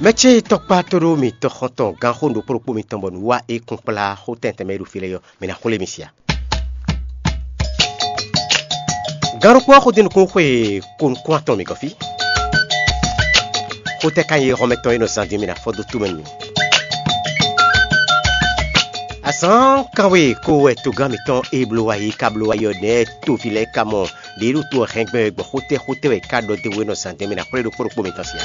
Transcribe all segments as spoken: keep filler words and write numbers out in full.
Mɛ ce tɔkpá tóɖó mitɔn xɔntɔn gán xó ɖokpó ɖokpó mitɔn bɔ nǔ wa é kún kplá xó tɛntɛn mɛ e ɖo fí lɛ́ɛ ɔ́, mɛ ná xwlé mi sia. Gán ɖokpó ɔ́ xó dó nukún xwe ko nukún atɔn mi gɔ́ fí. Xó tɛ́ ka nyí hɔnmɛ tɔn e nɔ zan din mi ná fɔ dó tomɛ nú mi? Azǎn kanwe ko wɛ togán mǐtɔn e bló wá yi ka bló wá yi ɔ́ nɛ́ toví lɛ́ɛ ka mɔ ɖě ɖo to ɔ́ hɛn gbɛn gbɔn xótɛ́ xótɛ́ wɛ é ká ɖɔ dó we nɔ zǎn dɛn mɛ ná xwlé ɖokpó ɖokpó mitɔn sia.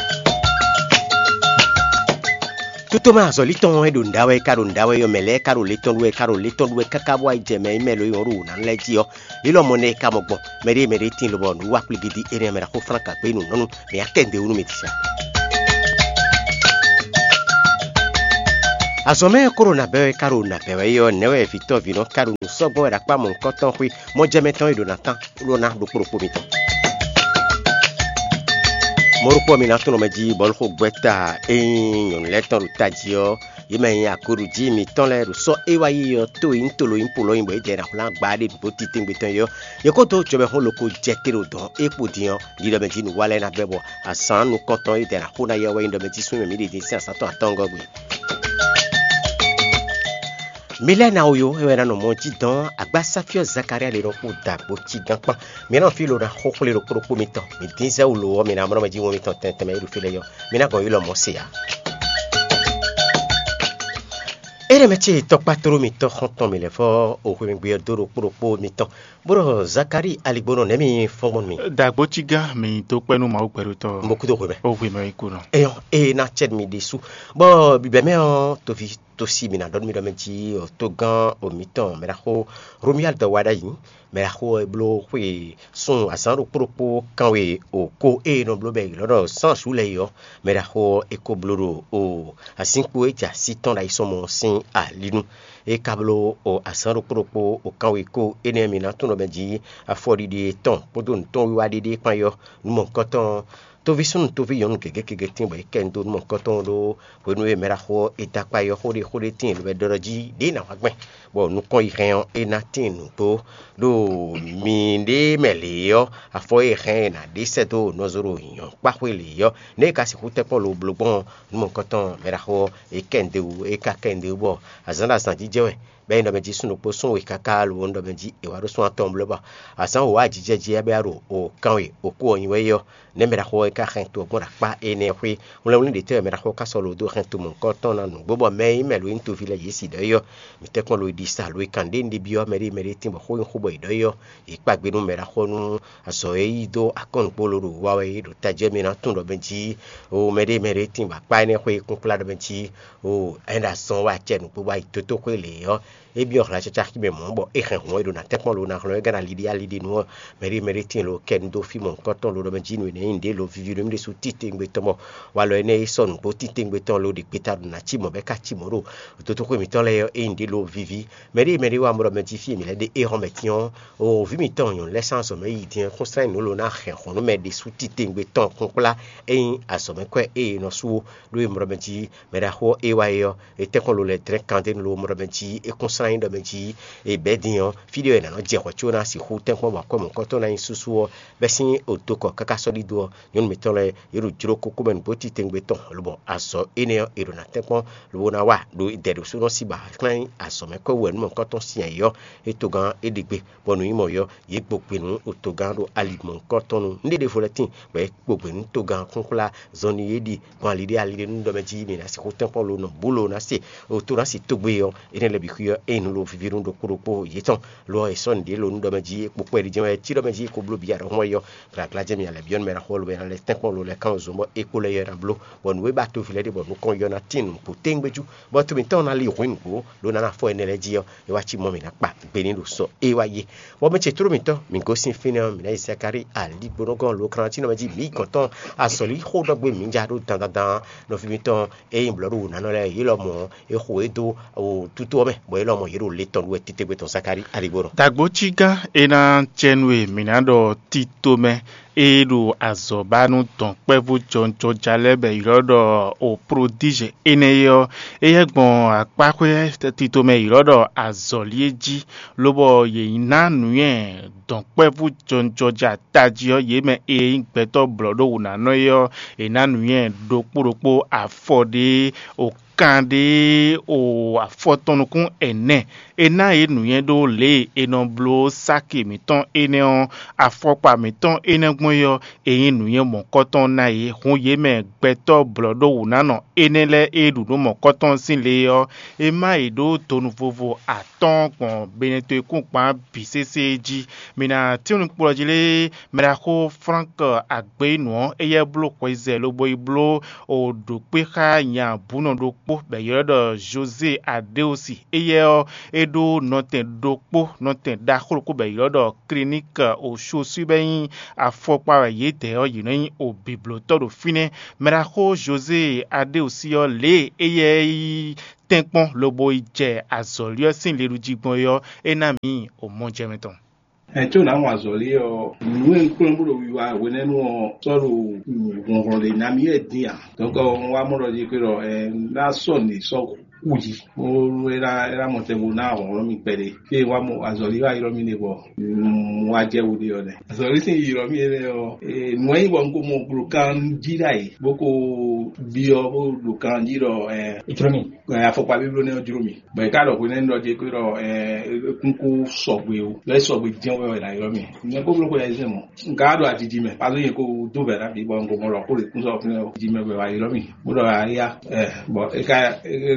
Tutomɛ azɔ̌li tɔn e ɖo nǔɖá wɛ é ka ɖo nǔɖá wɛ ɔ́, mɛ lɛ́ɛ ka ɖo lě tɔn ɖu wɛ é ka ɖo lě tɔn ɖu wɛ káká bó wá yi jɛ mɛ e mɛ lo e wɔn ɖo wǔ ná lɛ́ɛ jí ɔ́, lilɔmɔ nɛ́ é ka mɔ gbɔn. Mɛɖée mɛɖé tíin lobɔ nǔ wa kplígídí énɛ́ mɛ ɖaxó Flán ka gbé nǔ nɔ́ nú mǐ akɛ́ndewú nú mǐ din sa. Azɔ̌ mɛ e kó ɖo nǎ bɛ́ wɛ é ka ɖo nǎ bɛ́ wɛ é ɔ́, nɛ̌ wɛ vǐtɔ́ vǐnɔ ka ɖo nǔ sɔ́ gbɔn wɛ ɖo akpá mɔ̌hunkɔtɔn xwé mɔjɛmɛ tɔn e ɖo ná tán ɖó ná ɖokpó ɖokpó mitɔn? Mɔ̌ ɖokpó ɔ́, mi ná tunwun mɛ jí bɔlxogbɛ́ ta e nyí nyɔ̌nu lɛ́ɛ tɔn ɖo tají ɔ́, yě mɛ e nyí agoɖují mǐtɔn lɛ́ɛ ɖo sɔ́ e wá yi ɔ́ tó e nyí tolo nyí polɔ́ nyí bɔ yě dɛ ná hwlán gbá ɖé nǔgbó titewungbe tɔn é ɔ́, yě kó dó jɔbɛ́xɔ́ loko jɛ te ɖo dɔ̌n e kpo din ɔ́, ɖiɖɔ mɛ jí nǔ wa lɛ́ɛ ná bɛ́ bɔ azǎn nukɔntɔn e dɛ ná xo ná yɛ wɛ nyí ɖɔ mɛ jí súnnu mǐ ɖi din sín azǎn tɔn atɔngɔ́ gbe. Mi lɛ́ɛ ná wo yo, é wɛ ná nɔ mɔ jí dɔn agbásáfíɔ́ Zakalía ɖe nɔ kú dǎgbó cí gán kpán. Mi ná nɔ fí lo ná xó xwlé ɖokpó ɖokpó mitɔn. Mi dín zɛ wú lo ɔ́, mi ná mlɔ́ mɛ jí wɔn mitɔn tɛntɛn mɛ e ɖo fí lɛ́ɛ ɔ́. Mi ná gɔn yi lɔ mɔ̌ se ǎ. Énɛ́ mɛ ce tɔkpá tló mitɔn xɔ́ntɔn mi lɛ́ fɔ o hwemɛgbe ɔ́ dó ɖokpó ɖokpó mitɔn, bó ɖɔ Zakalíi aligbónɔ nɛ̌ mi fɔ́n gbɔn nú mi? Dǎgbó cí gán mi dó kpɛ́ nú Mawu gbɛɖotɔ́. Mo kúdó hwemɛ. Ó hwemɛ é kú nɔ. Eyɔn, ée ná cɛ mi ɖésú. Bɔ bǐbɛ́ mɛ ɔ́, toví tó sí mi ná ɖɔ nú mi ɖɔ mɛ jí togán o mǐtɔn mɛ ɖaxó Romiyali dɔ wa ɖ'ayǐ. Mɛ ɖaxó ɔ́ e bló xwe sun azǎn ɖokpó ɖokpó kanwe o ko ée nɔ bló bɛ è ylɔ́ ɖɔ sánsu lɛ́ɛ é ɔ́, mɛ ɖaxó ɔ́ é ko bló ɖo o azinkpo e jɛ así tɔn ɖo ayisɔmɔ ɔ́ sín ali nu. É ka bló o azǎn ɖokpó ɖokpó o kanwe ko énɛ́ mi ná tunwun ɖɔ mɛ jí afɔɖiɖi yětɔn kpódó nǔtɔn wiwa ɖéɖé kpán é ɔ́, nǔ mɔ̌hunkɔtɔn ɔ́, toví súnnu toví nyɔ̌nu gěgé gěgé tíin bɔ é kɛ nyi dó nǔ mɔ̌hunkɔtɔn ɖó hwenu e mɛ ɖaxó ɔ́ è dó akpá é ɔ́ xó ɖé xó ɖé tíin lobo ɖɔ ɖɔ jí ɖěe ná wá gbɛn, bɔ nukɔn yi hɛn ɔ́, é ná tíin nǔgbó ɖo miɖée mɛ lě ɔ́, afɔ e hɛn è nǎ ɖe sɛ́ dó nɔzo ɖo nyɔ̌kpáxwé lě ɔ́, nɛ̌ è ka sixú tɛ́nkpɔ́n lobo bló gbɔn nǔ mɔ̌hunkɔtɔn mɛ ɖaxó ɔ́, é kɛ nyi dó wú, é ka kɛ nyi dó wú bɔ azǎn ɖo azǎn jijɛ wɛ. Bɔ é nyí ɖɔ mɛ jí súnnu kpó sún wěkáká lobo nú ɖɔ mɛ jí è wǎ ɖó sún atɔn bló bɔ azǎn wǒ ajijɛ jí ɔ́ bɛ́ wá ɖo o kanwe o kú ɔ́ nyi wɛ é ɔ́, nɛ̌ mɛ ɖaxó ɔ́ é ka hɛn to ɔ́ gbɔn ɖo akpá énɛ́ ɔ́ xwé? Hwlɛ́nhwlɛ́n ɖětɛ́ wɛ mɛ ɖaxó ɔ́ ka sɔ́ lo dó hɛn to mɔ̌hunkɔtɔn ná nǔgbó bɔ mɛ e nyí mɛ lo e nyí toví lɛ́ɛ yě si ɖɔ é ɔ́, mǐ tɛ́nkpɔ́n lo yi ɖi sa lo yi kan ɖěe un ɖi byɔ́ mɛɖée mɛɖée tíin bɔ xó nyí xó bɔ è ɖɔ é ɔ́, yě kpa gbe nú mɛ ɖaxó ɔ́ nú azɔ̌ e yí dó akɔ́nukpó lo ɖo wa wɛ é ɖo tají ɔ́ mɛ ná tunwun ɖɔ mɛ jí o mɛɖée mɛɖée tíin bɔ akpá énɛ́ xwé kúnkplá ɖɔ mɛ jí o ɛ́ ɖo azɔn wɛ acɛ nǔgbó wá yi dótóxwé lě ɔ́, é byɔ́ hla caca xí mɛ mɔ̌ bɔ é hɛn hǔn e ɖo ná tɛ́nkpɔ́n lo ná hlɔ́n é gán ná liɖí aliɖi nú ɔ́, mɛɖée mɛɖée tíin lo kɛ nu dó fí mɔ̌hunkɔtɔn lo ɖɔ mɛ jí nǔ énɛ́ nyí nǔɖé lo vivi nú mì ɖésú titewungbe tɔn bɔ walɔ énɛ́ e sɔ́ nǔgbó titewungbe tɔn lo ɖi gbeta ɖo ná cí mɔ̌ bɔ é ka cí mɔ̌ ɖo dótóxwé mǐtɔn lɛ́ɛ ɔ́, é nyí nǔɖé lo vivi. Mɛɖée mɛɖée wa mɔ ɖɔ mɛ jí fí e mǐ lɛ́ ɖe éhɔ́n mɛ tín ɔ́, o vǐ mǐtɔn nyɔ̌nu lɛ́ɛ sín azɔ̌ mɛ yi din ɔ́, kún slán nǔ lo ná hɛn hǔn nú mɛ ɖésú titewungbe tɔn kúnkplá é nyí azɔ̌ mɛ kwɛ́ e è nɔ sú ó, ɖó e mɔ ɖɔ mɛ jí mɛ ɖaxó ɔ́ é wá é ɔ́, é tɛ́nkpɔ́n lo lɛ́ dlɛ́n kan dó nú lo mɔ ɖɔ mɛ jí é kún slán nyí ɖɔ mɛ jí è bɛ̌ din ɔ́, fí ɖé wɛ è nǎ nɔ jɛ hwɛ̌ có ná sixú tɛ́nkpɔ́n bɔ akwɛ́ mɔ̌hunkɔtɔn ná nyí súsú ɔ́, bɛ́ sín odokɔ káká sɔ́ ɖidó ɔ́, nyɔ̌nu mǐtɔn lɛ́ɛ yě ɖo jló kókó mɛ nǔgbó titewungbe tɔn, lobɔ azɔ̌ énɛ́ ɔ́, è ɖo ná tɛ́nkpɔ́n lobo ná wa ɖo dɛ̌ɖosúnɔ sín ba klɛ́n azɔ̌ mɛ kɔ́ wɛ nú mɔ̌hunkɔtɔn sin ayǐ ɔ́, é togán é ɖe gbe, bɔ nǔ nyí mɔ̌ ɔ́, yě gbo gbe nú togán ɖo ali mɔ̌hunkɔtɔn nu. Nǔɖé ɖěvo lɛ́ɛ tíin, bɔ é gbo gbe nú togán kúnkplá zɔnlin e ɖi gbɔn aliɖé aliɖé nú ɖɔ mɛ jí mǐ ná sixú tɛ́nkpɔ́n lo nɔ bǔ lo ná se to ná se tógbe ɔ́, énɛ́ lɛ́ɛ bǐ xwí ɔ́, é nyí nǔ lo víví nú ɖokpó ɖokpó yětɔn. Lo ɔ́, è sɔ́ nǔɖé lo nú ɖɔ mɛ jí é kpo kpɛɖé jɛ́n wɛ é cí ɖɔ mɛ jí é ko bló bǐ aɖɔ̌xɔ́mɔ é ɔ́, glǎglá jɛ́n mǐ ná lɛ́ byɔ́ nú mɛ ná xɔ lo mɛ ná lɛ́ tɛ́nkpɔ́n lo lɛ́ kán zɔn bɔ é kpo lɛ́ yɔ ná bló, bɔ nǔ e ba toví lɛ́ɛ ɖe bɔ nukɔn yɔ ná tín nǔgbó téŋgbéjú, bɔ to mǐtɔn ná li hwǐn nǔgbó, lo ná ná fɔ énɛ́ lɛ́ɛ jí ɔ́, é wá cí mɔ mǐ ná kpa gbe ní ɖo sɔ é wá yé. Bɔ mɛ ce tló mǐtɔn, mǐ gosín fínɛ́ ɔ́, mǐ ná yi Zakalíi aligbónɔgɔ́n lo kan ɔ́ cí nɔ mɛ jí mǐ yi gɔ̌n tɔn azɔ̌lí xó ɖɔ gbé mǐ ja ɖó dandandan nɔví mǐtɔn e nyí blɔ̌ɖu wǔnánɔ lɛ́ɛ é lɔmɔ̌ é xo é dó tútú ɔ́ mɛ, bɔ é lɔmɔ̌ yě ɖo le tɔn ɖu wɛ titewungbe tɔn Zakalíi aligbónɔ. Dǎgbó cí gán é ná cɛ nú e mǐ ná ɖɔ tito mɛ e ɖo azɔ̌ ba nú dɔ̌nkpɛvú jɔnjɔja lɛ́ɛ bɔ è ylɔ́ ɖɔ o prodíze énɛ́ é ɔ́, éyɛ́ gbɔn akpáxwé tito mɛ è ylɔ́ ɖɔ azɔ̌li é jí, lobɔ yě ná nǔnywɛ́ dɔ̌nkpɛvú jɔnjɔja tají ɔ́, yě mɛ e nyí gbɛtɔ́ blɔ̌ɖówǔnánɔ é ɔ́, è nǎ nǔnywɛ́ ɖokpó ɖokpó afɔ ɖé o kan ɖé o afɔ tɔn nukún ɛnɛ. È nǎ yě nǔnywɛ́ ɖó lě e è nɔ bló sáki mǐtɔn énɛ́ ɔ́, afɔkpa mǐtɔn énɛ́ gbɔn é ɔ́, è nyí nǔnywɛ́ mɔ̌kɔtɔn ná yě. Hun yě mɛ gbɛtɔ́ blɔ̌ɖówǔnánɔ énɛ́ lɛ́ɛ e ɖu nǔ mɔ̌kɔtɔn sín le ɔ́, è má yě ɖó donu vovo atɔ́ɔ́n gbɔn benɛtoekúngban bǐ sésé jí. Mi ná tín nukplɔ́ jí lé, mɛɖaxó Frank Agbeyinu ɔ́, éyɛ́ bló hweyizɛ lobo yi bló o ɖǒkpé xá nya bǔnɔ ɖokpó bɔ è ylɔ́ ɖɔ José Adeosi. Éyɛ́ ɔ́, é ɖó nɔtɛn ɖokpó, nɔtɛn ɖaxó ɖokpó bɔ è ylɔ́ ɖɔ Kliník Oshoswi bɔ é nyí afɔkpa wɛ yědɛɛ ɔ́, yě nɔ nyí o bǐblótɔ́ ɖo fínɛ́. Mɛɖaxó José Adeosi ɔ́, lě e éyɛ́ yi tɛ́nkpɔ́n lobo yi jɛ azɔ̌li ɔ́ sín liɖují gbɔn é ɔ́, é ná mǐ o mɔjɛmɛ tɔn. Ɛ có nǎ wɔn azɔ̌li ɔ́, nǔ e un kplɔ́n bó ɖo wiwa hwenɛ́nu ɔ́ sɔ́ ɖo hlɔ̌nhlɔ́n ɖé ná mì wɛ dín ǎ. Dɔ̌nkɔ un wá mɔ ɖɔ jí xwé ɖɔ ɛ ná sɔ́ nǔ e sɔ́ xu jí. Bó é ná é ná mɔ tɛnbó ná hlɔ̌nhlɔ́n mì kpɛɖé. Fí e wá mɔ azɔ̌li wá ylɔ́ mì ɖe bɔ un wá jɛ wǔ ɖe ɔ́ nɛ́. Azɔ̌li sín yi ylɔ́ mì énɛ́ ɔ́, nǔ e nyí bɔ un ko mɔ ɖo kan jí ɖ'ayǐ bó ko byɔ́ bó ɖo kan jí ɖɔ ɛ Jló mi. Afɔkpa bíbló nɛ́ ɔ́ jló mì. Bɔ è ka ɖɔ hwenɛ́nu ɖɔ jɛ kpé ɖɔ kúnkún sɔgbe o, lɔ é sɔgbe jɛ́n wɛ wɛ ná ylɔ́ mì. Nyɛ kó bló xwe ayizɛ́n mɔ. Un ka ɖo ajiji mɛ, pazó nyɛ kó dó vɛ̌ ná bǐ bɔ un ko mɔ ɖɔ xó ɖě kún sɔ́ fínɛ́ o. Jiji mɛ wɛ wá ylɔ́ mì. Bó ɖɔ ayá, bɔ é ka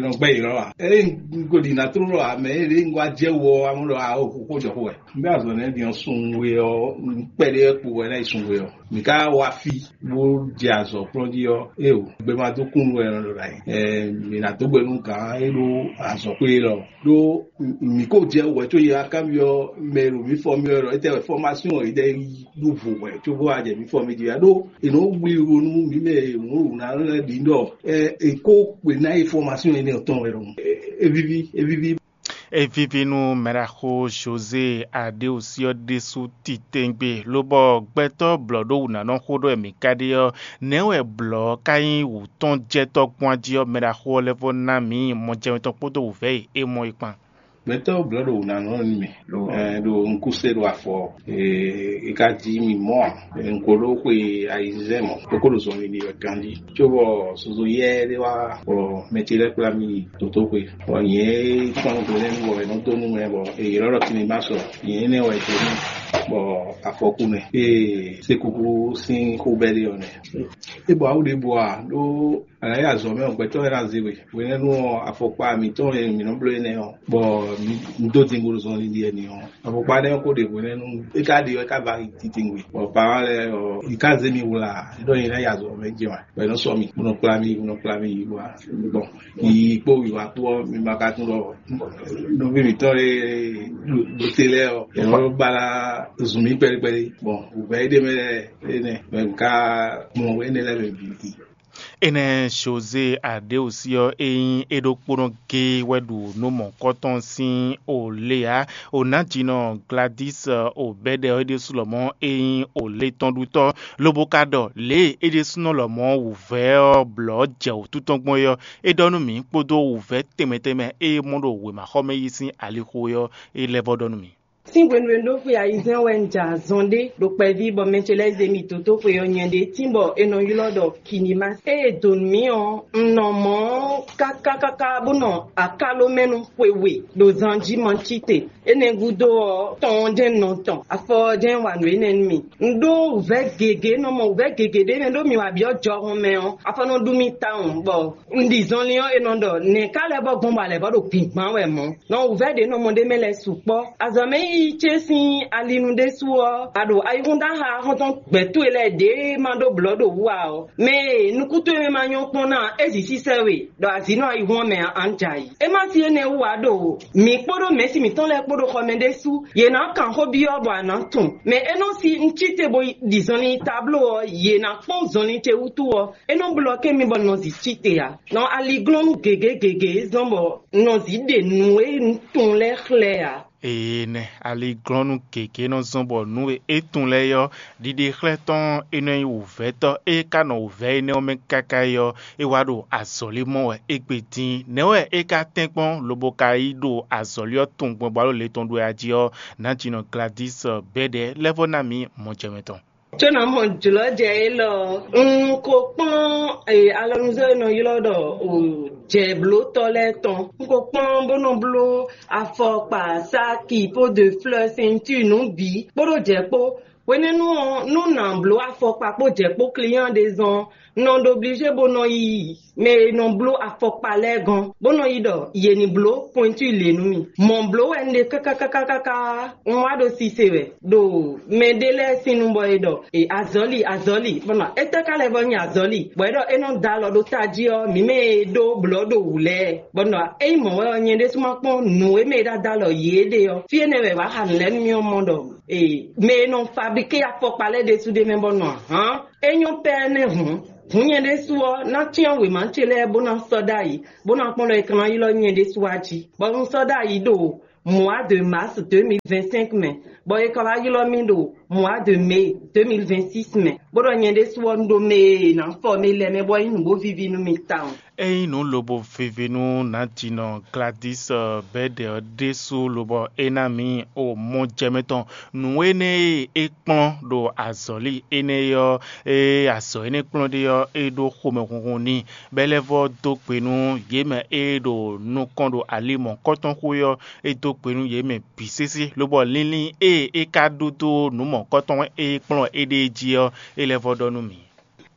nɔ gbɛ́ ylɔ́ a? Ée un ko ɖi nǎ tló ɖɔ ǎ, mɛ e ɖě un wá jɛ wɔ ɔ́, amú ɖɔ a o xó jɔ xó wɛ. Un bɛ́ azɔ̌ nɛ́ din ɔ́ sun we ɔ́, un kpɛɖé wɛ kpo wɛ ná yi sun we ɔ́. Mǐ ka wá fí bó jɛ azɔ̌ kplɔ́n jí ɔ́, éeǒ, gbe ma dó kún nú wɛ è nɔ ɖo ɖ'ayǐ. Mǐ ná dó gbe nú gǎn e ɖó azɔ̌xwé élɔ́. Ɖó mǐ ko jɛ wɛ có yě wá kanbyɔ́ mɛ e ɖo mǐ fɔ mì wɛ ɖɔ étɛ́ wɛ fɔ́másyɔn yědɛɛ yi ɖó vo wɛ cóbó wá jɛ mǐ fɔ mì jí wɛ ɖó è nɔ wlí wo nú mǐ mɛ e mǔ wǔ ná lɛ́ɛ bǐ ɖɔ è kó kpe ná yi fɔ́másyɔn énɛ́ ɔ́ tɔn wɛ ɖɔhun. É víví, é víví. É víví nú mɛɖaxó José Aɖéosi ɔ́ ɖésú titewungbe, lobɔ gbɛtɔ́ blɔ̌ɖówǔnánɔ xó ɖɔ wɛ mǐ ka ɖe ɔ́, nɛ̌ wɛ blɔ̌ ɔ́ ka nyí wǔtɔ́njɛtɔ́ gbɔn jí ɔ́, mɛɖaxó ɔ́ lɛ́ vɔ́ ná mǐ mɔjɛmɛ tɔn kpódó wǔvɛ́ e é mɔ é kpán? Gbɛtɔ́ blɔ̌ɖówǔnánɔ nú mì ɖo un kú se ɖo afɔ, e ka jí mì mɔ̌ ǎ. Un ko ɖó xwe ayizɛ́n mɔ̌, bó ko ɖo zɔnlin ɖi wɛ ganjí. Cóbɔ zozo yɛ́ ɖé wá, bɔ mɛ ce lɛ́ɛ kplá mì yi dotóxwe. Bɔ nyɛ e kpɔ́n hwenɛ́nu bɔ è nɔ dó nú mɛ bɔ è ylɔ́ ɖɔ Kinibasɔ, nyɛ énɛ́ wɛ è dó nú bɔ afɔkú mɛ. Ée sékúkú sín xó bɛ́ ɖe ɔ́ nɛ́. É bɔ awu ɖěbǔ a ɖó a nǎ yi azɔ̌ mɛ ɔ́, gbɛtɔ́ lɛ́ɛ ná zé we. Hwenɛ́nu ɔ́, afɔkpa mǐtɔn e mǐ nɔ bló énɛ́ ɔ́, bɔ un dó din bó ɖo zɔnlin ɖi ɛnɛ ɔ́, afɔkpa nɛ́ ɔ́ ko ɖe hwenɛ́nu é ka ɖe ɔ́, é ka va yi titewungbe. Bɔ parent lɛ́ɛ ɔ́, yě ká zé mì wlá, é ɖɔ nyɛ ná yi azɔ̌ mɛ jɛ wá. Bɔ é nɔ sɔ́ mì, bó nɔ kplá mì, bó nɔ kplá mì yi wá. Bɔn yiyi kpó wiwa kpó ɔ́, mi ma ka tunwun ɖɔ nɔví mǐtɔn e ɖo te lɛ́ɛ ɔ́, è nɔ ba ná zun mì kpɛɖé kpɛɖé. Bɔn wǔvɛ́ é ɖe mɛ lɛ́ɛ énɛ́, mɛ un ka mɔ énɛ́ lɛ́ɛ mɛ bǐ. Énɛ́ José Aɖéosi ɔ́, é nyí é ɖokpónɔ géé wɛ ɖu nǔ mɔ̌kɔtɔn sín o lě ǎ. O nǎjínɔ Gladys o bɛ́ɖɛ ɔ́, é ɖésú lɔmɔ̌ é nyí o létɔ́ɖutɔ́, lobo ka ɖɔ lě e é ɖésúnɔ lɔmɔ̌ wǔvɛ́ ɔ́ blɔ̌ jɛ wǔtu tɔn gbɔn é ɔ́, é ɖɔ nú mǐ kpódó wǔvɛ́ tɛnmɛ tɛnmɛ e é mɔ ɖo wěmaxɔmɛ yí sín alixo é ɔ́, é lɛ́ vɔ́ ɖɔ nú mǐ. Sín hwenu e un ɖó xwe ayizɛ́n wɛ un jɛ azɔn ɖé ɖo kpɛví bɔ mɛ ce lɛ́ɛ zé mì dó tó xwe ɔ́ nyɛ ɖě tín bɔ è nɔ ylɔ́ ɖɔ Kinimasi. Ée è dǒ nú mì ɔ́, un nɔ mɔ ɔ́ káká káká bó nɔ akáló mɛ nú xwe we ɖo zan jí ma cí te. Énɛ́ gúdo ɔ́, tɔn ɔ́ jɛ́n un nɔ tɔn, afɔ ɔ́ jɛ́n wa nǔ énɛ́ nú mì. Un ɖó wǔvɛ́ gěgé, nɔ mɔ wǔvɛ́ gěgé ɖé mɛ ɖó mi wa byɔ́ jɔhɔn mɛ ɔ́, afɔ nɔ ɖu mì tawun bɔ un ɖi zɔnlin ɔ́, è nɔ ɖɔ nɛ̌ ká lɛ́ vɔ́ gbɔn bɔ a lɛ̌ vɔ́ ɖo gbǐngbán wɛ mɔ̌. Nɔ wǔvɛ́ ɖě nɔ mɔ ɖ'é mɛ lɛ́ɛ sukpɔ́. Azɔ̌mɛ yíyí ce sín alinu ɖésú ɔ́, a ɖo ayihún dó aha xɔ́ntɔn gbɛ̌ towe lɛ́ɛ ɖě ma ɖó blɔ̌ ɖo wú ǎ ɔ́, mɛ e nukún towe mɛ ma nyɔ́ kpɔ́n ná ɔ́, é zǐ sísɛ́ we ɖɔ azǐ nɔ ayihún ɔ́ mɛ ǎ, a nɔ jɛ ayǐ. É má sí énɛ́ wú ǎ ɖo mǐ kpódó mɛ̌si mǐtɔn lɛ́ɛ kpó ɖo xɔ mɛ ɖésú, yě ná kan xó byɔ́ bɔ a nǎ tunwun. Mɛ e nɔ sí un cí te bo ɖi zɔnlin tabló ɔ́, yě ná kpɔ́n zɔnlin ce wútu ɔ́, é nɔ blɔ́ kɛ́n mì bɔ un nɔ zǐ cí te ǎ. Nɔ aliglɔ́nú gěgé gěgé zɔ́n bɔ un nɔ zǐ ɖe nǔ e un tunwun lɛ́ɛ xlɛ́ ǎ. Ée nɛ́, aliglɔ́nú gěgé nɔ zɔ́n bɔ nǔ e é tunwun lɛ́ɛ é ɔ́, ɖiɖexlɛ́ tɔn e nɔ nyí wǔvɛ́tɔ́ e ka nɔ wǔvɛ́ énɛ́ ɔ́ mɛ káká é ɔ́, é wá ɖo azɔ̌li mɔ wɛ égbé dín. Nɛ̌ wɛ é ka tɛ́nkpɔ́n lobo ka yi ɖo azɔ̌li ɔ́ tunwun gbɔn bɔ alɔ le tɔn ɖu wɛ a jí ɔ́, nǎjínɔ Gladys Bɛ́ɖɛ lɛ́ vɔ́ ná mǐ mɔjɛmɛ tɔn. Có ná mɔ jlɔ̌ jɛ élɔ́ ɔ́, un ko kplɔ́n alɔnuzɔ́ e nɔ ylɔ́ ɖɔ jɛ̌blótɔ́ lɛ́ɛ tɔn. Un ko kplɔ́n bó nɔ bló afɔkpa, sáki, po de fleurs, ceinture, nǔ bǐ kpódó jɛ̌ kpó. Hwenɛ́nu ɔ́, nú nǎ bló afɔkpa kpó jɛ̌ kpó client ɖé zɔn ɔ́, un nɔ ɖo obligé bó nɔ yi mɛ e nɔ bló afɔkpa lɛ́ɛ gɔ́n, bó nɔ yi ɖɔ yě ní bló pointure lě nú mì. Mɔ̌ bló wɛ un ɖe káká káká káká, un wá ɖo sise wɛ ɖo mɛ ɖé lɛ́ɛ sín nu bɔ è ɖɔ e azɔ̌li azɔ̌li, bɔ nɔ étɛ́ ka lɛ́ vɔ nyi azɔ̌li, bɔ é ɖɔ é nɔ da alɔ ɖó tají ɔ́, mǐ mɛ e ɖó blɔ̌ ɖo wǔ lɛ́ɛ, bɔ nɔ ényí mɔ̌ wɛ ɔ́, nyɛ ɖésú ma kpɔ́n nǔ e mɛ e ɖo ada alɔ yě ɖe ɔ́, fí énɛ́ wɛ è wǎ xa nǔ lɛ́ɛ nú mì ɔ́ mɔ ɖɔ mɛ e nɔ fablíké afɔkpa lɛ́ɛ ɖésú ɖ'é mɛ bɔ nɔ ahǎn. É nyɔ́ pɛ́ nɛ́ hǔn. Hǔn nyɛ ɖésú ɔ́, ná cyán wěma ce lɛ́ɛ bó ná sɔ́ ɖ'ayǐ, bó ná kpɔ́n ɖɔ è ka ná ylɔ́ nyɛ ɖésú wá jí, bɔ un sɔ́ ɖ'ayǐ ɖo mois de mars deux mille vingt-cinq mɛ, bɔ è ka wá ylɔ́ mì ɖo mois de mai deux mille vingt-six mɛ, bó ɖɔ nyɛ ɖésú ɔ́, un ɖo mɛ e è nǎ fɔ mɛ lɛ́ɛ mɛ bɔ é nyí nǔ bó víví nú mì tawun. Ényí nǔ lobo vivi nú nǎjínɔ Gladys Bɛ́ɖɛ ɔ́ ɖésú lobɔ é ná mǐ o mɔ jɛ mɛ tɔn. Nǔ énɛ́ e é kplɔ́n ɖo azɔ̌li énɛ́ ɔ́, e azɔ̌ énɛ́ kplɔ́n ɖe ɔ́, é ɖó xomɛhunhun n'i, bɔ é lɛ́ vɔ́ dó gbe nú yě mɛ e ɖo nukɔn ɖo ali mɔ̌kɔtɔn xwé ɔ́, é dó gbe nú yě mɛ bǐ sésé, lobɔ linlin e é ka ɖó dó nǔ mɔ̌kɔtɔn e é kplɔ́n éɖée jí ɔ́, é lɛ́ vɔ́ ɖɔ nú mǐ.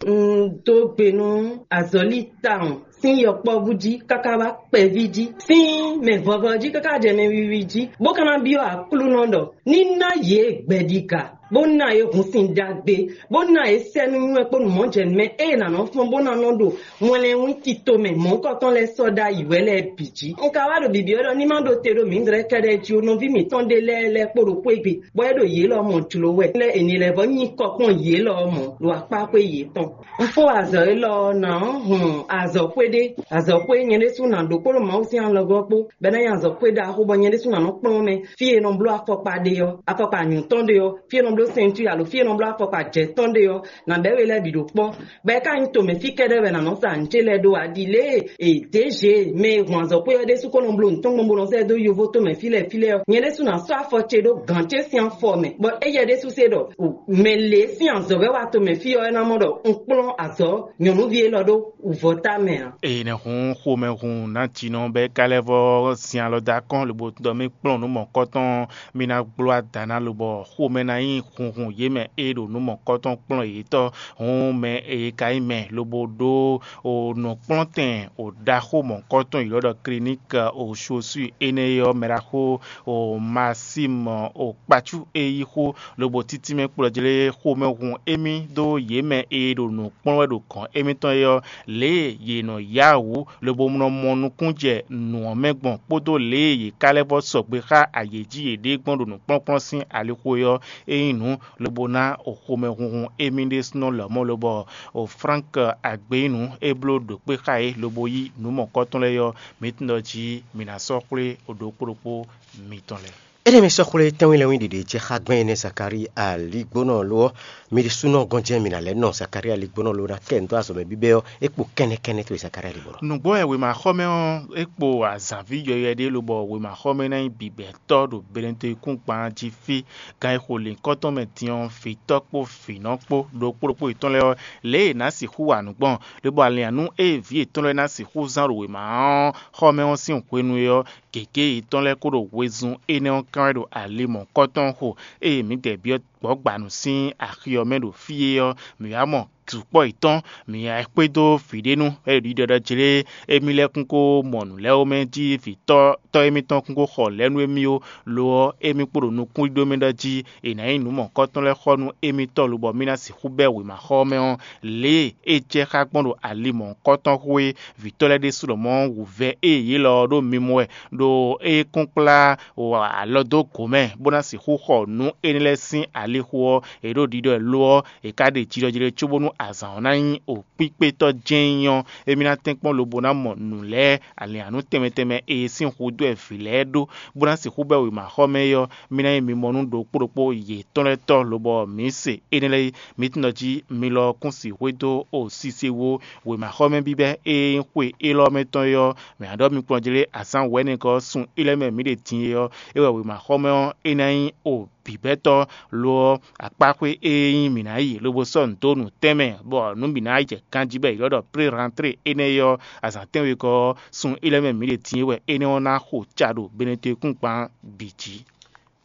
Un dó gbe nú azɔ̌li tawun sín yɔkpɔ́vú jí káká wá kpɛví jí, sín mɛ vɔvɔ jí káká jɛ mɛ wiwi jí, bó ka ná byɔ́ Aklúnɔ ɖɔ ní ná yě gbɛɖiga, bó ná yě hun sin ɖagbe, bó ná yě sɛ́ nú nywɛ́ kpó nǔmɔjɛnǔmɛ e è nǎ nɔ fɔ́n bó ná nɔ ɖo wɛnlɛ́nwín tito mɛ mɔ̌hunkɔtɔn lɛ́ɛ sɔ́ ɖ'ayǐ wɛ lɛ́ɛ bǐ jí. Un ka wá ɖo bǐbí ɔ́ ɖɔ ní má ɖo te ɖo mǐdɛɛ kɛ́ɖɛ́ jí ó, nɔví mǐtɔn ɖé lɛ́ɛ lɛ́ kpó ɖo xwé gbe, bɔ é ɖo yě lɔ mɔ jlǒ wɛ, lɛ́ è nǐ lɛ́ vɔ́ nyi kɔ kpɔ́n yě lɔ mɔ̌ ɖo akpá xwé yětɔn. Un fó azɔ̌ élɔ́ ɔ́, nǎ hun azɔ̌xwé ɖé, azɔ̌xwé nyɛ ɖésú ná ɖó kpódó Mawu sín alɔgɔ́ kpó, bɔ é ná nyí azɔ̌xwé ɖaxó, bɔ nyɛ ɖésú ná nɔ kplɔ́n mɛ fí e nɔ bló afɔkpa ɖe ɔ́, afɔkpa anyǔtɔn ɖe ɔ́, fí e nɔ bló sɛntúi alo fí e nɔ bló afɔkpa jɛ̌tɔn ɖe ɔ́, nǎ bɛ́ we lɛ́ɛ bǐ ɖo kpɔ́. Bɔ é ka nyí tomɛ fí kɛ́ɖɛ́ wɛ nǎ nɔ sa nǔ ce lɛ́ɛ ɖó ǎ, ɖi lě e è dě zě mɛ e hun azɔ̌xwé ɔ́ ɖésú ko nɔ bló nǔ tɔn gbɔn bó nɔ zɛ dó yovo tomɛ fí lɛ́ɛ fí lɛ́ɛ ɔ́, nyɛ ɖésú ná sɔ́ afɔ ce ɖó gǎn ce sín afɔ mɛ, bɔ éyɛ́ ɖésú se ɖɔ mɛ lě sín azɔ̌ wɛ wá tomɛ fí ɔ́, é ná mɔ ɖɔ un kplɔ́n azɔ̌ nyɔ̌nuví élɔ́ ɖó wǔvɔ́ ta mɛ ǎ. Eye nɛ́ hun xomɛhun nǎjínɔ bɔ é ka lɛ́ vɔ́ sin alɔ dó akɔ́n lobo ɖɔ mì kplɔ́n nǔ mɔ̌kɔtɔn, mì ná gbló ada ná lobɔ xomɛ ná nyí hunhun yě mɛ e ɖo nǔ mɔ̌kɔtɔn kplɔ́n yětɔn. Hǔn mɛ e ka nyí mɛ lobo ɖó o nǔkplɔ́ntɛn o ɖaxó mɔ̌kɔtɔn ylɔ́ ɖɔ kliník o chaussure énɛ́ ɔ́ mɛ ɖaxó o Maxime o kpácú e yí xó lobo títí mɛ kplɔ́ jlé xomɛhun émí dó yě mɛ e ɖo nǔ kplɔ́n wɛ ɖo gɔ̌n émítɔn é ɔ́, lě e yě nɔ yá wǔ lobo nɔ mɔ nukún jɛ nǔ ɔ́ mɛ gbɔn kpódó lě e yě ka lɛ́ vɔ́ sɔgbe xá ayě jí yěɖée gbɔn ɖo nǔkplɔ́nkplɔ́n sín alixo é ɔ́, é nyí nǔ lobo ná o xomɛhunhun émí ɖésúnɔ lɔmɔ̌ lobɔ o Frank Agbeyínu é bló ɖǒkpé xá yě lobo yí nǔ mɔ̌kɔtɔn lɛ́ɛ ɔ́, mǐ tunwun ɖɔ jí mǐ ná sɔ́ xwlé o ɖokpó ɖokpó mitɔn lɛ́ɛ. Énɛ́ mi sɔ́ xwlé tɛ́nwínlɛ́nwín ɖiɖe jɛ xá gbɛn énɛ́ Zakalíi aligbónɔ lo ɔ́, mi ɖésúnɔ gɔ́n jɛ́n mi ná lɛ́ nɔ Zakalíi aligbónɔ lo ná kɛ nǔ dó azɔ̌ mɛ bíbɛ́ ɔ́, é kpo kɛ́nnɛ́kɛ́nnɛ́ towe Zakalíi aligbónɔ. Nǔgbó wɛ wěmaxɔmɛ ɔ́ é kpo azǎnví yɔywɛ ɖé lobɔ wěmaxɔmɛ ná nyí bǐbɛ́tɔ́ ɖo Belentoyikúngban jí fí. Gan e xo lǐnkɔ́ntɔn mɛ din ɔ́, vǐtɔ́ kpó vǐnɔ kpó ɖokpó ɖokpó yětɔn lɛ́ɛ ɔ́, lě e è nǎ sixú wa nǔ gbɔn, lobo alǐnnyánú e vǐ yětɔn lɛ́ɛ ná sixú zán ɖo wěma ɔ́ xɔmɛ ɔ́ sín hwenu e ɔ́, gěgé yětɔn lɛ́ɛ kó ɖo wezun énɛ́ ɔ́ kán wɛ ɖo ali mɔ̌kɔtɔn xo, eye mǐdɛɛ byɔ́ gbɔ̌gbanu sín axi ɔ́ mɛ ɖo fí é ɔ́, mǐ wá mɔ sukpɔ́ yětɔn, mǐ wá xwedó vǐ ɖé nu, bɔ é ɖo ɖiɖɔ ɖɔ jlé émí lɛ́ɛ kún kó mɔ nǔ lɛ́ɛ ó mɛ jí vǐtɔ́ tɔ́ émítɔn kún kó xɔ lɛ̌ nú émí ó. Lo ɔ́, émí kpo ɖo nukúnɖíɖó mɛ ɖɔ jí è nǎ nyí nǔ mɔ̌kɔtɔn lɛ́ɛ xɔ nú émítɔn lobɔ mì ná sixú bɛ́ wěmaxɔ ɔ́ mɛ ɔ́, lě e é jɛ xá gbɔn ɖo ali mɔ̌kɔtɔn xwé vǐtɔ́ lɛ́ɛ ɖésú lɔmɔ̌ wǔvɛ́ e yě lɔ ɔ́ ɖo mimɔ wɛ, ɖo é kún kplá alɔ dó gǒ mɛ, bó ná sixú xɔ nǔ énɛ́ lɛ́ɛ sín alixo ɔ́, è ɖo ɖiɖɔ ɛ lo ɔ́, è ka ɖe jijɔjijɛ cóbónú Azǎn ɔ́ ná nyí okpíkpétɔ́ jɛ́n nyí ɔ́, émí ná tɛ́nkpɔ́n lobo ná mɔ nǔ lɛ́ɛ alǐnnyánú tɛnmɛ tɛnmɛ e sín hudó wɛ vǐ lɛ́ɛ ɖó, bó ná sixú bɛ́ wěmaxɔmɛ é ɔ́, mí ná nyí mimɔnú ɖokpó ɖokpó yětɔn lɛ́ɛ tɔ́, lobɔ mǐ se énɛ́ lɛ́ɛ é. Mǐ tunwun ɖɔ jí mi lɔ ɔ́ kún sixú dó o sise wú wěmaxɔmɛ bíbɛ́ e nyí xwe élɔ́ mɛ tɔn é ɔ́, mǐ ná ɖɔ mi kplɔ́n jlé azǎn wɛ̌nɛgɔ́ ɔ́ sun é lɛ́ɛ mɛ mǐ ɖe din é ɔ́, é wɛ wěmaxɔmɛ ɔ́ é ná nyí o bǐbɛ́tɔ́. Lo ɔ́, akpáxwé e nyí mǐ ná yi lobo sɔ́ nǔ dó nǔtɛn mɛ, bɔ nǔ bǐ ná yi jɛ ganjí bɔ è ylɔ́ ɖɔ pré rantré énɛ́ é ɔ́, azǎn tɛ́nwegɔ́ ɔ́, sun é lɛ́ɛ mɛ mǐ ɖe din é wɛ énɛ́ ɔ́ ná xo ca ɖo Benetɔ́-kún-gban bǐ jí.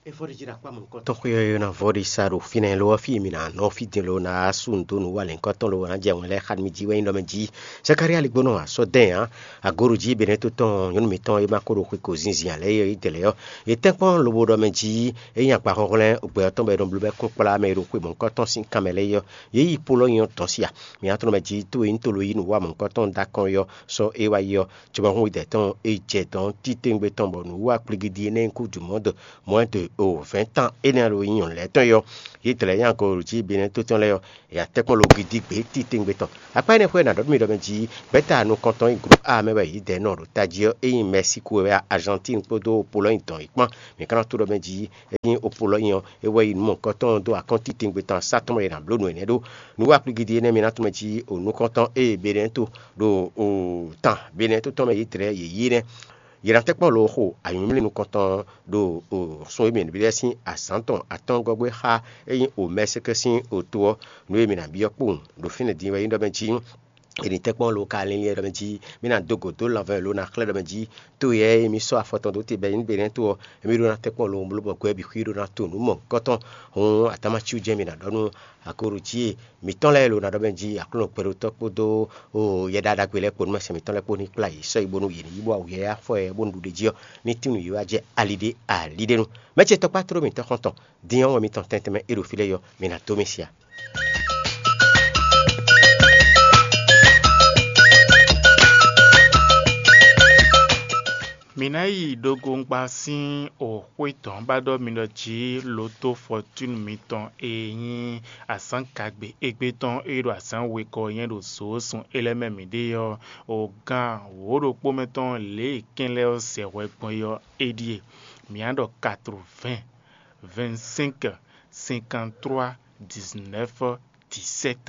Tɔn xwé ɔ́ ná vɔ ɖi sa ɖo fínɛ́ lo ɔ́, fí e mǐ ná nɔ fí din lo ná sú nǔ dó nǔ wa lɛ̌nkɔ́ tɔn lo ná jɛ wɛn lɛ́ɛ xá mì jí wɛ nyí ɖɔ mɛ jí. Zakalía ligbónɔ asɔ́ dɛn ǎ. Agoɖu jí Benɛ́to tɔn nyɔ̌nu mǐtɔn e ma ko ɖo xwe ko zinzin ǎ lɛ́ɛ é ɔ́, é dɛ lɛ́ɛ ɔ́, yě tɛ́nkpɔ́n lobo ɖɔ mɛ jí é nyí agba xɔnxlɛ́n gbɛ ɔ́ tɔn bɔ è nɔ bló bɛ́ kún kplá mɛ e ɖo xwe mɔ̌hunkɔtɔn sín kanmɛ lɛ́ɛ é ɔ́, yě yi Polɔ́nyɔ tɔn sí a? Mǐ ná tlɔ́n mɛ jí tó e nyí tolo yí nǔ wa mɔ̌hunkɔtɔn dó akɔn é ɔ́, sɔ́ é wá yi ɔ́, cobɔ́hún dɛ̌ tɔn é jɛ dɔn títewungbe tɔn bɔ nǔwiwa kplígídí énɛ́ nyí kú jumɔ̌ de mɔ̌ de o vɛ̌ntan énɛ́ ɖo nyí nyɔ̌nu lɛ́ɛ tɔn é ɔ́, yě dlɛ̌ nyi agɔ̌ jí Benɛ́to tɔn lɛ́ɛ ɔ́, è yǎ tɛ́nkpɔ́n lo gidi gbě títewungbe tɔn. Akpá énɛ́ xwé è nǎ ɖɔ nú mi ɖɔ mɛ jí gbɛ̌ta nukɔntɔn e gló a mɛ wɛ yě dɛ nɔ ɖo tají ɔ́, é nyí Mɛsíku wɛ wɛ a, Azantín kpódó Opolɔ́nyi dɔn yě kpán. Mǐ ka ná tó ɖɔ mɛ jí é nyí Opolɔ́nyi ɔ́, é wɛ yi nǔ mɔ̌hunkɔtɔn dó akɔ́n títewungbe tɔn asá tɔn mɛ è nǎ bló nǔ énɛ́ ɖó. Nǔ wa kplígídí énɛ́ mi ná tunwun mɛ jí o nukɔntɔn e Benɛ́to ɖo o tan Benɛ́to tɔn mɛ yě dlɛ̌ yě yí nɛ́. Yě ná tɛ́nkpɔ́n lo xo anyǔmlí nukɔntɔn ɖo o sun e mǐ bǐ lɛ́ɛ sín azǎn tɔn atɔ́ɔ́ngɔ́ gbé xá é nyí o Mɛsɛkɛ sín oto ɔ́, nǔ e mǐ ná byɔ́ kpowun ɖo fínɛ́ din wɛ nyí ɖɔ mɛ jí è nǐ tɛ́nkpɔ́n lo ka linlin ɖɔ mɛ jí mí ná dó gǒ dó lanvɛ́ lo ná xlɛ́ ɖɔ mɛ jí to yɛ e mǐ sɔ́ afɔ tɔn dó te bɔ é nyí Benɛ́to ɔ́, émí ɖó ná tɛ́nkpɔ́n lo bló bɔ gbɛ́ bǐ xwí ɖó ná to nǔ mɔ̌hunkɔtɔn. Hǔn atámacu jɛ́n mǐ ná ɖɔ nú akoɖu jí mǐtɔn lɛ́ɛ lo ná ɖɔ mɛ jí Aklúnɔ gbɛɖotɔ́ kpódó yɛɖaɖagbe lɛ́ɛ kpó nú mɛsɛn mǐtɔn lɛ́ɛ kpó ní kplá yě sɔ́ yi bónú yě ní yi bó awu yɛ afɔ ɛ bónú ɖuɖéjí ɔ́ ní tín nǔ yi wá jɛ ali ɖé ali ɖé nu. Mɛ̌ ce tɔkpá tló mǐtɔn xɔ́ntɔn? Din ɔ́, wɛn mitɔn tɛntɛnmɛ e ɖo fí lɛ́ɛ yɔ, mi ná dó mì sia. Mǐ ná yi ɖogoŋgba sín xwé tɔn ba ɖɔ mi ɖɔ jí loto fɔtúnu mitɔn e nyí azǎn kagbe égbé tɔn e ɖo azǎn wegɔ́ nyɛ ɖo zǒ sun é lɛ́ɛ mɛ mǐ ɖe ɔ́, o gan wǒ ɖokpó mɛ tɔn lě e kɛn lɛ́ɛ ɔ́ zɛ hwɛ gbɔn é ɔ́, é ɖíe: mǐ á ɖɔ quatre-vingts, vingt-cinq, cinquante-trois, dix-neuf, dix-sept,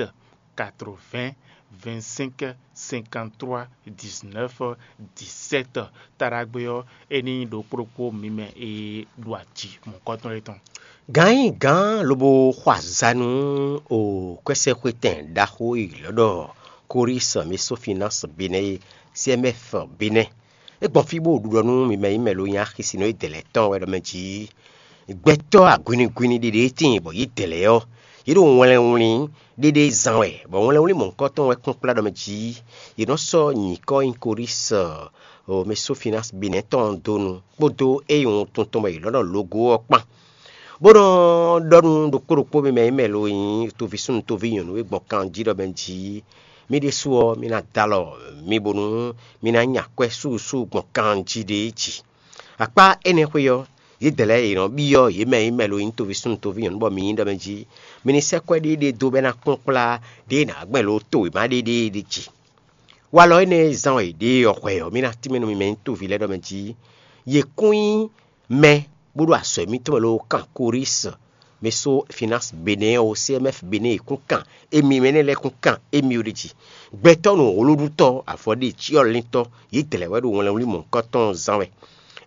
quatre-vingts, vingt-cinq, cinquante-trois, dix-neuf, dix-sept. Taɖagbe ɔ́, é ní nyí ɖokpó ɖokpó mi mɛ e ɖo aji mɔ̌kɔtɔn é tɔn. Gǎn nyí gǎn lobo xɔ azǎn nú o kwɛ́sɛxwétɛn ɖaxó e è ylɔ́ ɖɔ Korísi Mesófinasi Benɛ́ é, C M F Benɛ́. É gbɔn fí bó ɖu ɖɔ nú mi mɛ nyí mɛ lo nyí axisínɔ e dɛ̌ lɛ́ɛ tɔn wɛ ɖɔ mɛ jí gbɛtɔ́ agwinigwini ɖiɖe e tíin bɔ yě dɛ̌ lɛ́ɛ ɔ́, yě ɖo wlɛnwlín ɖéɖé zán wɛ, bɔ wlɛnwlín mɔ̌hunkɔtɔn wɛ kpɔ́n kplá ɖɔ mɛ jí yě nɔ sɔ́ nyǐkɔ nyi Korísi Mesófinasi Benɛ́ tɔn dó nu kpódó é nyí wuntun tɔn bɔ yě lɔ́ nɔ logo ɔ́ kpán. Bó nɔ ɖɔ nú ɖokpó ɖokpó mi mɛ e mɛ lo nyí toví súnnu toví nyɔ̌nu e gbɔn kan jí ɖɔ mɛ jí: Mi ɖésú ɔ́, mi ná dó alɔ mi bónú mi ná nya akwɛ́ súsú gbɔn kan jí ɖé jí. Akpá énɛ́ xwé ɔ́, yědɛɛ lɛ́ɛ è nɔ byɔ́ yě mɛ e mɛ lo nyí toví súnnu toví nyɔ̌nu bɔ mi nyí ɖɔ mɛ jí: Mi ní sɛ́ kwɛ́ ɖé ɖé dó bɔ é ná kplɔ́n kplá ɖěe nǎ gbɛn lo to wěma ɖé ɖé ɖé jí. Walɔ énɛ́ e zán wɛ è ɖe ɔ́ hwɛ ɔ́, mi ná tínmɛ nú mi mɛ nyí toví lɛ́ɛ ɖɔ mɛ jí: Yě kún nyí mɛ bó ɖo azɔ̌ émítɔn mɛ lóó kan Korísi, Mesófinasi Benɛ́ɛ ɔ́, C M F Benɛ́ɛ e kún kan émí mɛ énɛ́ lɛ́ɛ kún kan émí ó ɖ'é jí. Gbɛtɔ́ nǔwlúɖútɔ́, avɔɖecyɔ́líntɔ́, yě dlɛ̌ wɛ ɖo wlɛnwlí mɔ̌hunkɔtɔn zán wɛ.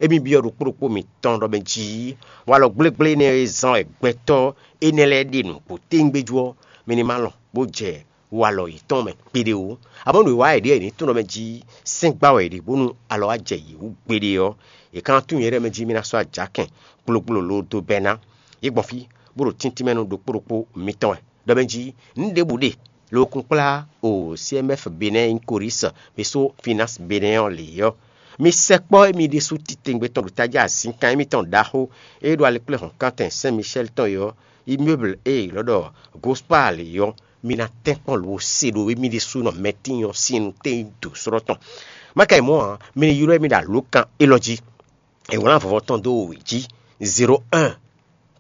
Émí byɔ́ ɖokpó ɖokpó mitɔn ɖɔ mɛ jí: Walɔ gblégblé énɛ́ e zán wɛ gbɛtɔ́ énɛ́ lɛ́ɛ ɖe nǔgbó téwúngbéjú ɔ́, mi ní ma lɔn bó jɛ walɔ yětɔn mɛ kpeɖé ó. Amɔ̌ nǔwiwa e ɖíe è nǐ tunwun ɖɔ mɛ jí sɛ́n gbá wɛ è ɖe bónú alɔ wá jɛ yě wú gbeɖé ɔ́, è ka ná tunwun nyɛɖée mɛ jí mì ná sɔ́ ajǎkɛn gblogblolo dó bɛ́ ná. Yě gbɔn fí, bó ɖo tíntín mɛ nú ɖokpó ɖokpó mitɔn wɛ. Ɖɔ mɛ jí: Nǔ ɖěbǔ ɖe lo kún kplá o C M F Benɛ́ nyí Korísi, Mesófinasi Benɛ́ ɔ́ lě ɔ́, mi sɛkpɔ́ émí ɖésú titewungbe tɔn ɖo tají azǐnkan émítɔn ɖaxó e ɖo alɛkplɛ́hɔ̌nkántɛn Sɛ́n Micɛ́li tɔn é ɔ́, immeuble e è ylɔ́ ɖɔ Gospal é ɔ́, mi ná tɛ́nkpɔ́n lo se ɖo émí ɖésúnɔ mɛtín ɔ́ sín nutɛ́nyido slɔ́ tɔn. Má ka yi mɔ̌ ǎ, mi ní ylɔ́ émí ɖo alǒkan élɔ́ jí. È wlán vɔvɔ tɔn dó wěwé jí: zéro un,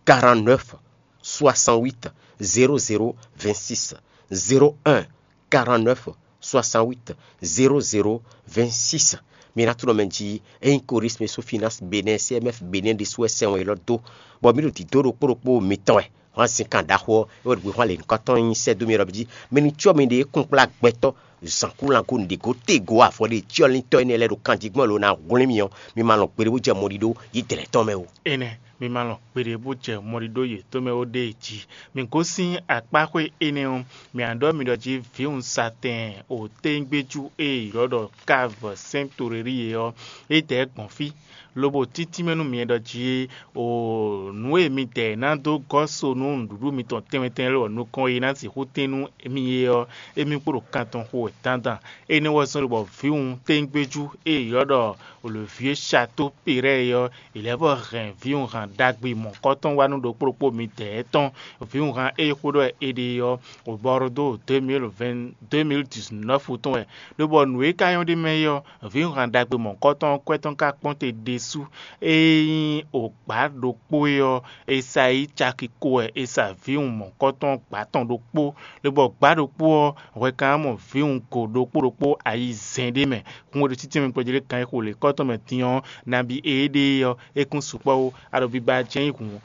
quarante-neuf, soixante-huit, zéro zéro, vingt-six. zéro un quarante-neuf soixante-huit zéro zéro vingt-six. Mi ná tunɔ mɛ jí ényí Coris Meso Finance Benin C M F Benin ɖésú wɛ sɛn wɛ élɔ́ dó, bɔ mǐ ɖo dǐdó ɖokpó ɖokpó mitɔn wɛ. Hwan sin kan ɖaxó ɔ́, é wɛ ɖo hwan lě nukɔntɔn nyi sɛ́ dó mi ɖɔ jí mi ní cyɔ miɖée kúnkplá gbɛtɔ́ zǎnkúlango nǔɖégó tégo avɔ ɖé cyɔ́líntɔ́ énɛ́ lɛ́ɛ ɖo kanjígbɔ́n lo ná hwlɛ́n mi ɔ́, mi ma lɔn gbeɖé bó jɛ mɔɖíɖó yědɛɛ lɛ́ɛ tɔn mɛ ó. Énɛ́, mi ma lɔn gbeɖé bó jɛ mɔɖíɖó yětɔn mɛ ó ɖée jí. Mi gosín akpáxwé énɛ́ ɔ́, mǐ nǎ ɖɔ mi ɖɔ jí vǐwunzatɛn o téńgbéjú e è ylɔ́ ɖɔ Káv Sɛ́n Torerí é ɔ́, é dɛ̌ gbɔn fí, lobo títínmɛ nú mi ɖɔ jí o nǔ e midɛɛ ná dó gɔ́ so nú nǔɖuɖu mitɔn tɛnmɛ tɛnmɛ lɛ́ɛ nukɔn e ná sixú tɛ́n nú mi é ɔ́, émí kpo ɖo kan tɔn xo wɛ dandan. Énɛ́ wɛ zɔ́n ɖo bɔ vǐwun téńgbéjú e è ylɔ́ ɖɔ Olěvyé Shato Perɛ́ɛ é ɔ́, è lɛ́ vɔ hɛn vǐwunhan ɖagbe mɔ̌kɔtɔn wá nú ɖokpó ɖokpó midɛɛ tɔn. Vǐwunhan e xó ɖɔ è ɖe ɔ́, wǒbɔ́ ɖó dó deux mille vingt deux mille dix-neuf tɔn wɛ, lobɔ nǔ e ka nyɔ́ ɖ'é mɛ é ɔ́, vǐwunhan ɖagbe mɔ̌kɔtɔn ɔ́ kwɛ́ tɔn ka kpɔ́n te ɖésú. Ényí o gbǎ ɖokpó é ɔ́, è sa yí caki ko wɛ è sa vǐwun mɔ̌kɔtɔn gbǎ tɔn ɖokpó, lobɔ gbǎ ɖokpó ɔ́, hwɛ ka ná mɔ vǐwun go ɖokpó ɖokpó ayizɛ́n ɖé mɛ. Hun e ɖo títí mɛ kpɔ́ jí lé kan e xo lě kɔ́ tɔn mɛ din ɔ́, nabí éɖée ɔ́, é kún sukpɔ́ ó. A ɖo biba jɛ́n nyí hǔn